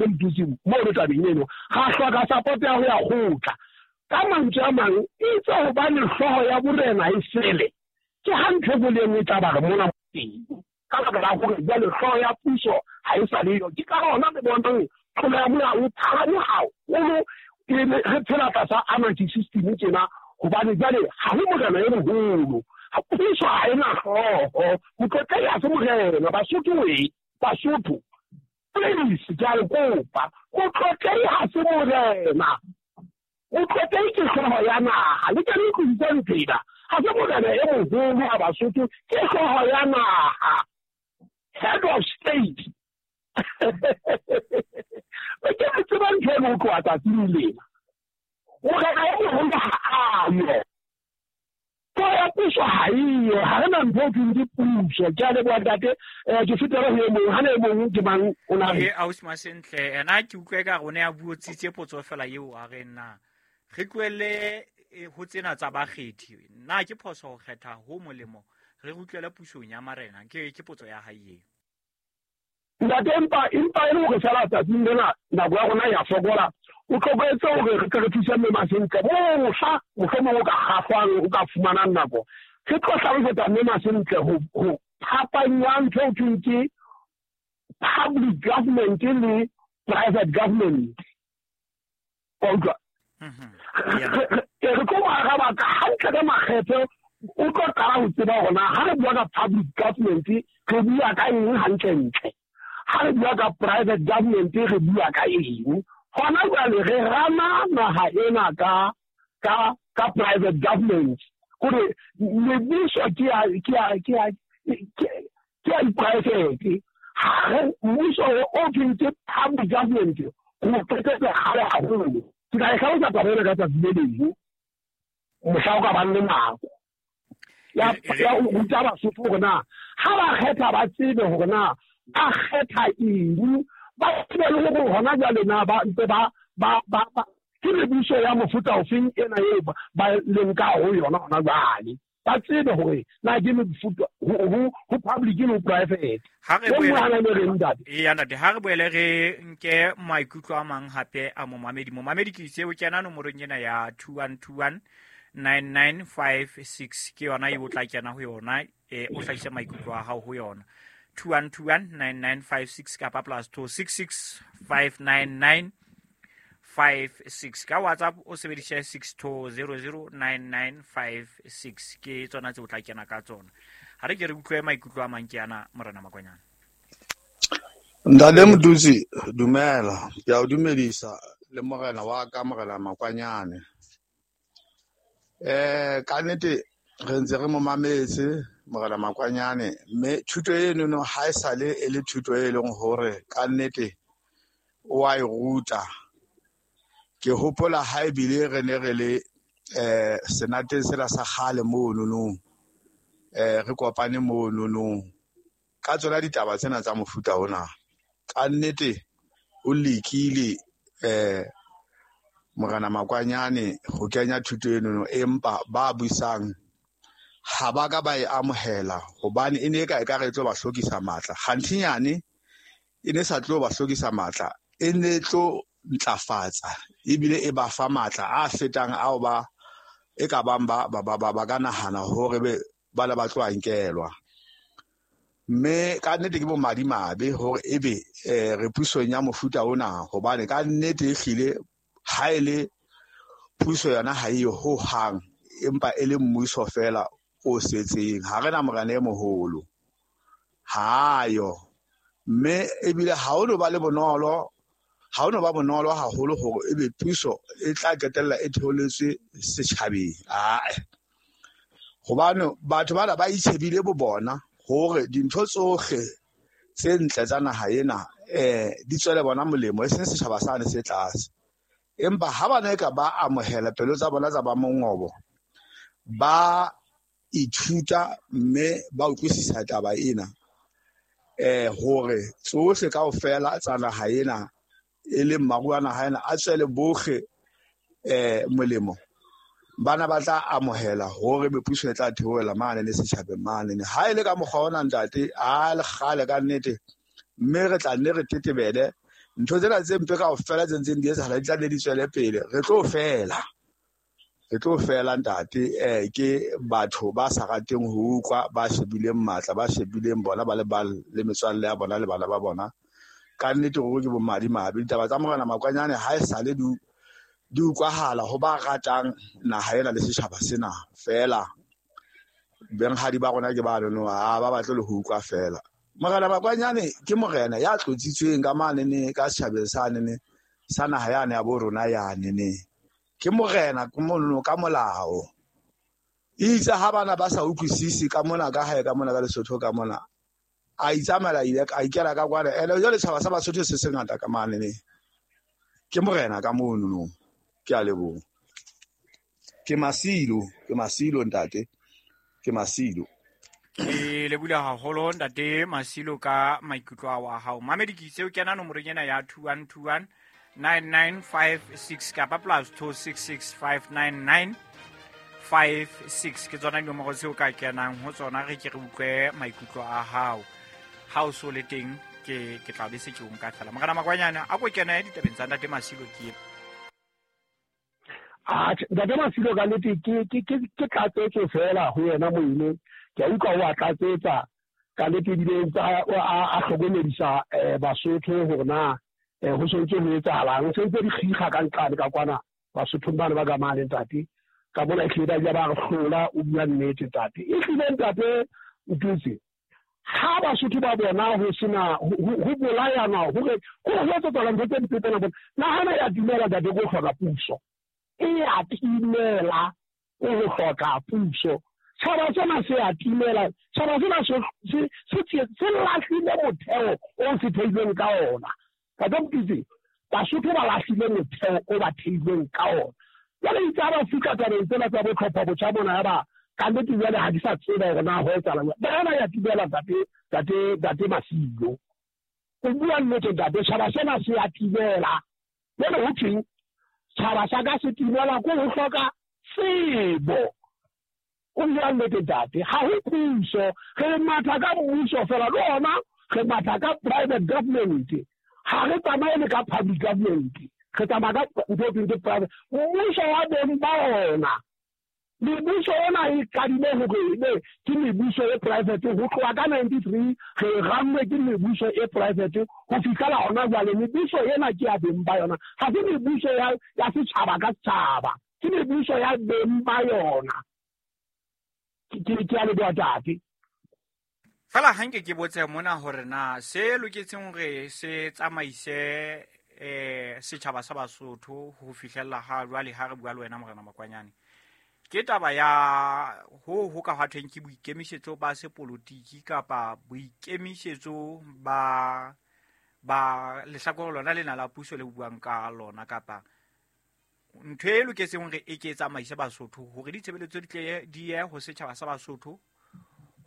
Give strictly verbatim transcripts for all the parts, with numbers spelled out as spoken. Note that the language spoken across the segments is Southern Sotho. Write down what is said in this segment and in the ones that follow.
Mdusi mo re tabeng eno ga hloka support ya ho ya kgotla ka mantswe a mang itse hobane hlooho ya borena e sele ke ha ntho boleng e tla ba re mona teng ka lebaka la hore jwale hlooho ya puso ha e sa le yo. Ke ka hona re bonang tlolo ya molao e phahame haholo re phela tlasa anarchy system tjena hobane jwale ha ho morena e moholo, puso ha ena hlooho, Motlotlehi ha se morena. Basotho we Basotho please ke a le kopa, Motlotlehi ha se morena, Motlotlehi ke hlooho ya naha. Le ke le utlwisise ntho ena, ha se morena e moholo wa Basotho, ke hlooho ya naha, head of state. Ke re tseba ntho eno ho tloha tsatsing lena, morena e moholo ha a yo, hlooho ya puso ha eyo, ha re na ntho e thweng ke puso. Ke a leboha ntate, ke fetele ho e mong. Ha na e mong ke mang o na re? E ausi Masentle, ena ke utlwa ekare o ne a buotsitse potso fela eo a re na re tlohelle ho tsena tsa bakgethi, na ke phoso ho kgetha ho molemo re utlwele pusong ya marena? Ke ke potso ya hae eo. Ntate, empa empa e le hore fela tsatsing lena nako ya rona ya fokola, o tloketse hore re tle re thuse mme Masentle mohla mohlomong o ka kgahlwang, o ka fumanang nako, re tlo hlalosetsa mme Masentle ho ho phapang ya ntho eo thweng ke public government le private government. Wa utlwa? Re tlo mo araba ka hantle ka makgethe, o tlo qala ho tseba hore na ha re bua ka public government re bua ka eng hantlentle, ha re bua ka private government re bua ka eng. Hona jwale re rana naha ena ka ka ka private government, hore mebuso ke ya ke ya ke ya ke ya private. Ha re mmuso o thweng ke public government ho qetetse kgale haholo. Ke tla e hlalosa taba ena ka tsatsi le leng mohla o ka bang le nako ya ya ho ruta Basotho hore na ha ba kgetha ba tsebe hore na ba kgetha eng, ba tsebe le hore hona jwale na ba ntse ba ba ba ke mebuso ya mofuta ofeng ena eo ba leng ka ho yona hona jwale, ba tsebe hore na ke mefuta ho ho public le ho private. Ha re boele e ntate, ha re boele re nke maikutlo a mang hape a momamedi. Momamedi ke itse o kena nomorong ena ya two one two one nine nine five six, ke yona eo o tla kena ho yona, e o hlahise maikutlo a hao ho yona. two one two one nine nine five six kapa plus two six six five nine nine five six. Ka WhatsApp o sebedise six two zero zero nine nine five six, ke tsona tse o tla kena ka tsona. Ha re ke re utlwe maikutlo a mang ke ana morena Makwanyane. Ntate Mdusi, dumela, ke a o dumedisa le morena wa ka morena Makwanyane. Eh ka nnete re ntse re mo mametse morena Makwanyane, mme thuto eno no ha e sale e le thuto e leng hore ka nnete o a e ruta. Ke hopola ha ebile re ne re le eh senateng sela sa kgale mono no, eh re kopane mono no ka tsona ditaba tsena tsa mofuta ona. Ka nnete o lekile eh morena Makwanyane ho kenya thuto eno no, empa ba buisang ha ba ka ba e amohela hobane e ne e ka e ka re tlo ba hlokisa matla. Kganthinyane e ne sa tlo ba hlokisa matla, e ne tlo ntlafatsa ebile e ba fa matla a fetang ao ba e ka bang ba ba ba ba ka nahana hore be ba le ba tlo nkelwa. Mme ka nnete ke bo madimabe hore ebe eh re pusong ya mofuta ona, hobane ka nnete e hlile ha e le puso yona ha e ho hang, empa e le mmuso fela o setseng. Ha re na morena e moholo, ha yo, mme ebile ha o no ba le bonolo, ha o no ba bonolo haholo hore ebe puso e tla qetella e theoletswe setjhabeng. Ae, hobane batho bana ba itshebile bo bona hore dintho tsohle tse ntle tsa naha ena eh di tswele bona molemo, e seng setjhaba sane se tlase. Empa ha ba ne ka ba amohela pelo tsa bona tsa ba mongobo, ba ithuta mme ba utlwisisa taba ena eh hore tsohle kaofela tsa naha ena e leng maruo a naha ena a tswele bohle eh molemo, bana ba tla amohela hore mepuso e tla theohela mane le setjhabeng mane. Ha e le ka mokgwa ona ntate, a le kgale ka nnete, mme re tla nne re tetebele Ntho tsena tse mpe kaofela tse ntseng di etsahala di tla nne di tswele pele. Re tlo fela. Re tlo fela ntate, eh ke batho ba sa rateng ho utlwa, ba shebileng matla, ba shebileng bona ba le ba le metswalle ya bona le bana ba bona. Ka nnete ruri ke bomadimabe. Ditaba tsa Morena Makwanyane ha e sale di di utlwahala ho ba ratang naha ena le setjhaba sena feela. Benghadi ba rona ke ba nono, ha ba batle le ho utlwa feela. Morena Makwanyane ke morena ya tlotsitsweng ka manene ka setjhabeng sa nene sa naha yane ya bo rona yane ne. Ke morena ke mono ka molao. Itse ha bana ba sa utlwisisi ka mona ka hae ka mona ka Lesotho ka mona. A itsamela ile a ikela ka kwana. Ene jwale setjhaba sa Basotho se sengata ka manene. Ke morena ka mono no. Ke a leboha. Ke Masilo, ke Masilo ntate. Ke Masilo. Ke lebohile haholo ntate Masilo ka maikutlo ao a hao. Mamedi ke itse o kena nomorong ena ya two one two one nine nine five six kapa plus two six six five nine nine five six ke tsona dinomoro tseo ka kenang ho tsona re ke re utlwe maikutlo a hao. Ha o so le teng ke ke tla be se ke o nka fela. Morena Makwanyane a ko kene ditabeng tsa ntate Masilo ke Ah, ntate Masilo ka nnete ke ke ke ke tlatsetso fela ho yena moine. Ke a utlwa o a tlatsetsa ka nnete ebile ntse a a hlokomedisa Basotho hore na ho sentse ho etsahalang. Ho sentse di kgikga ka nqane ka kwana Basothong bana ba ka mane ntate. Ka bona ehlile ba ile ba re hlola, o bua nnete ntate. Ehlile ntate Ntutse, ha Basotho ba bona ho sena ho bolayana hore ho etsahala ntho tse mpe tsena bona. Nahana ya dumela ntate ko hloka puso. E a timela o ho hloka puso. Tjhaba sena se a timela, tjhaba sena se se se lahlile motheo o se theilweng ka ona. Ka Ntutse, Basotho ba lahlile motheo o ba theilweng ka ona. Jwale itse ha ba fihla tabeng tsena tsa bo tlhopha botjha mona ya ba ka nnete jwale ha di sa tseba hore na ho etsahalang. Bana ya timela ntate, ntate, ntate Masilo. O bua nnete ntate, tjhaba sena se a timela. Jwale ho thweng? Tjhaba sa ka se timela ko ho hloka tsebo. O bua nnete ntate, ha ho puso, re matha ka mmuso fela le ona re matha ka private government. Ha re tsamaye le ka public government. Re tsamaya ka ntho e thweng ke private. Mmuso wa beng ba ona. Mebuso ona e qadile hore ebe ke mebuso e private ho tloha ka ninety-three re rannwe ke mebuso e private ho fihlela hona jwale. Mebuso ena ke ya beng ba yona, ha se mebuso ya ya setjhaba ka setjhaba, ke mebuso ya beng ba yona. Ke ke a leboha ntate. Fela ha nke ke botse mona hore na se loketseng hore se tsamaise eh setjhaba sa Basotho ho fihlella ha jwale ha re bua le wena Morena Makwanyane. Ke taba ya ho ho ka hwathweng ke boikemisetso ba sepolotiki kapa boikemisetso ba ba lehlakore lona lena la puso le buang ka lona, kapa ntho e loketseng hore e ke tsamaise Basotho hore ditshebeletso di tle di ye ho setjhaba sa Basotho,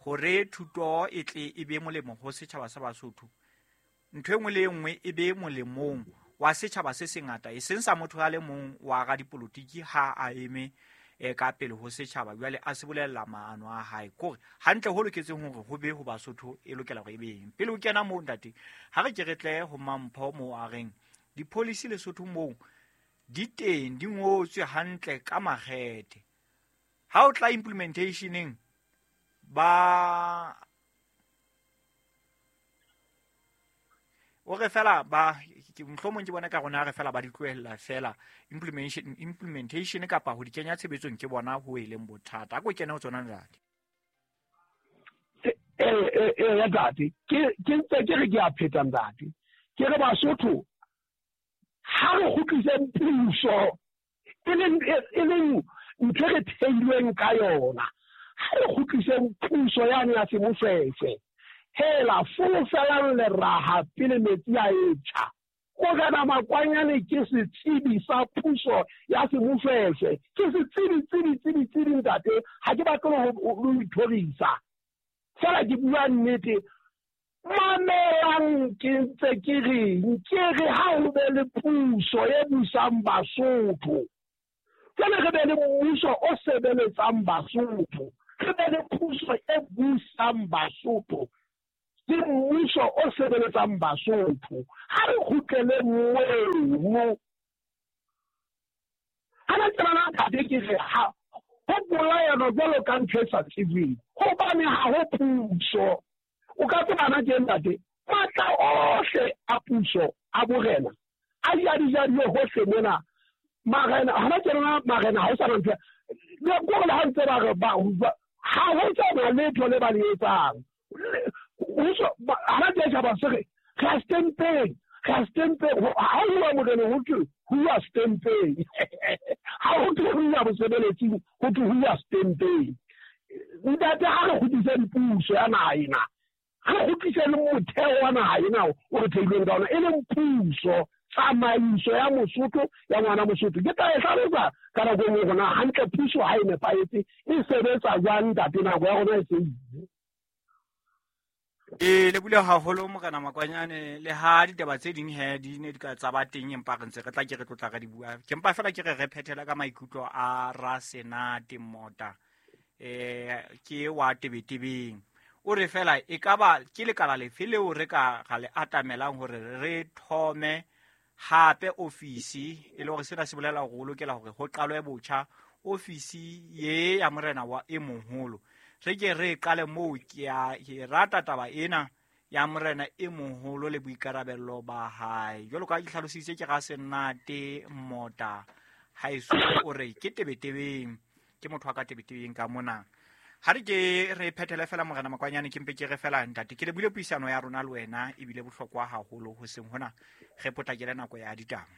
hore thuto e tle e be molemo ho setjhaba sa Basotho, ntho e nngwe le e nngwe e be molemong wa setjhaba se sengata, e seng sa motho a le mong wa radipolotiki ha a eme e ka pele ho setjhaba jwale a se bolella maano a hae. Kore hantle ho loketseng hore ho be ho Basotho e lokela hore e be eng. Pele o kena moo ntate, ha re ke re tle ho Mampho moo a reng di-policy Lesotho moo di teng, di ngotswe hantle ka makgethe. Ha o tla implementationeng ba o re fela ba mohlomong ke bona ka rona re fela ba di tlohella fela implementation implementation kapa ho di kenya tshebetsong ke bona ho e leng bothata. A ko kene ho tsona ntate. Eh eh eh ya ntate, ke ke ntse ke re ke a pheta ntate. Ke re Basotho ha re kgutliseng puso e leng e leng ntho re theilweng ka yona. Ha re kgutliseng puso yane ya semofefe. Hela folofelang leraha pele metsi a etjha. Morena Makwanyane ke setsebi sa puso ya semofefe. Ke setsebi tsebi tsebi tsebi ntate, ha ke batle ho ithorisa. Fela ke bua nnete. Mamelang ke ntse ke reng, ke re ha ho be le puso e busang Basotho. Jwale re be le mmuso o sebeletsang Basotho. Re be le puso e busang Basotho. Ke mmuso o sebeletsang Basotho. Ha re kgutlele mono. Ha na tsena ntate ke re ha ho bolayana jwalo ka ntho e sa tsebeng. Hobane ha ho puso. O ka tsebana ke ntate, matla ohle a puso a borena a jadijadiwe hohle mona. Marena ha na tsena marena ha o sa na ntho. Le gore le ha ntse ba re ba ha ho tsena letho le ba le etsang. Ha na tjha ba se re re stempeng, re stempeng ha o wa morena ho thwe ho wa stempeng. Ha ho thwe ho wa mosebeletsing, ho thwe ho wa stempeng. Ntate ha re kgutlise puso ya naha ena, re kgutlise le motheo wa naha ena o re theilweng ka ona, e leng puso, tsamaiso ya Mosotho ya ngwana Mosotho. Ke tla e hlalosa ka nako e nngwe hore na hantle puso ha e nepahetse e sebetsa jwang ntate, nako ya rona e se ile. E lebule haholo Morena Makwanyane, le ha ditaba tse ding he di ne di ka tsa ba teng, empa re ntse re tla ke re tlotla re di bua. Ke mpa fela ke re re phethela ka maikutlo a Rasenate Mota, eh ke wa Tebetebeng. O re fela e ka ba ke lekala lefe leo re ka ga le atamelang hore re thome hape ofisi, e le hore sena se bolela hore o lokela hore ho qalwe botjha ofisi ye ya morena wa e moholo. Re ke re qale moo. Ke a ke rata taba ena ya morena e moholo le boikarabello ba hae. Jwalo ka ke hlalositse ke Rasenate Mota haeso, o re ke Tebetebeng, ke motho wa ka Tebetebeng ka mona. Ha re ke re phethele fela Morena Makwanyane, ke mpe ke re fela ntate, ke lebile puisano ya rona le wena ebile bohlokwa haholo hoseng hona, re potlakele nako ya ditaba.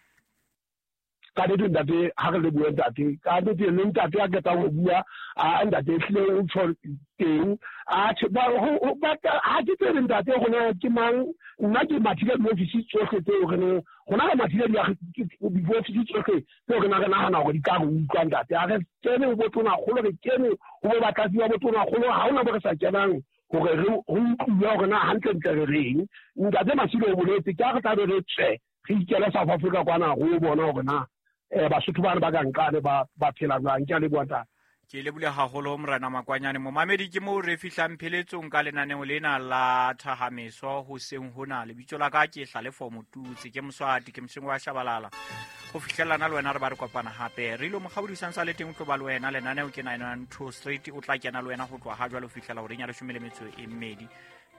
Ka nnete ntate, ha re le bue ntate, ka nnete le ntate a qetang ho bua, a ntate ehlile o tjho teng. Atjhe, ba ho ba ha ke tsebe ntate hore ke mang, nna ke mathile diofisi tsohle tseo re neng rona re mathile diofisi tsohle tseo re na re nahana hore di ka re utlwa ntate. Ha re kene ho botonakgolo, re kene ho bo batlatsi ba botonakgolo, ha hona bo re sa kenang hore re ho utlwe hore na hantlentle re reng. Ntate Masilo o boletse, ke ha re tla be re tswe re ikele South Africa kwana ho bona hore na eh Basotho bana ba ka nkane ba ba phela jwang. Ke a leboha ntate. Ke lebule haholo Morena Makwanyane. Momamedi, ke moo re fihlang pheletsong ka lenaneo lena la Thahameso hoseng hona. Lebitso la ka ke Hlalefo Motutsi, ke Moswati, ke Mosengwe wa Shabalala. Ho fihlellana le wena re ba re kopana hape. Re ilo mokgaodi sa le teng o tlo ba le wena. Lenaneo ke nine one two Street, o tla kena le wena ho tloha ha jwale ho fihlela horeng ya leshome le metso e mmedi.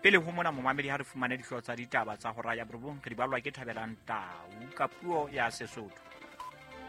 Pele ho mona momamedi, ha re fumane dihlooho tsa ditaba tsa hora ya borobong, re di balwa ke Thabelang Tau ka puo ya Sesotho.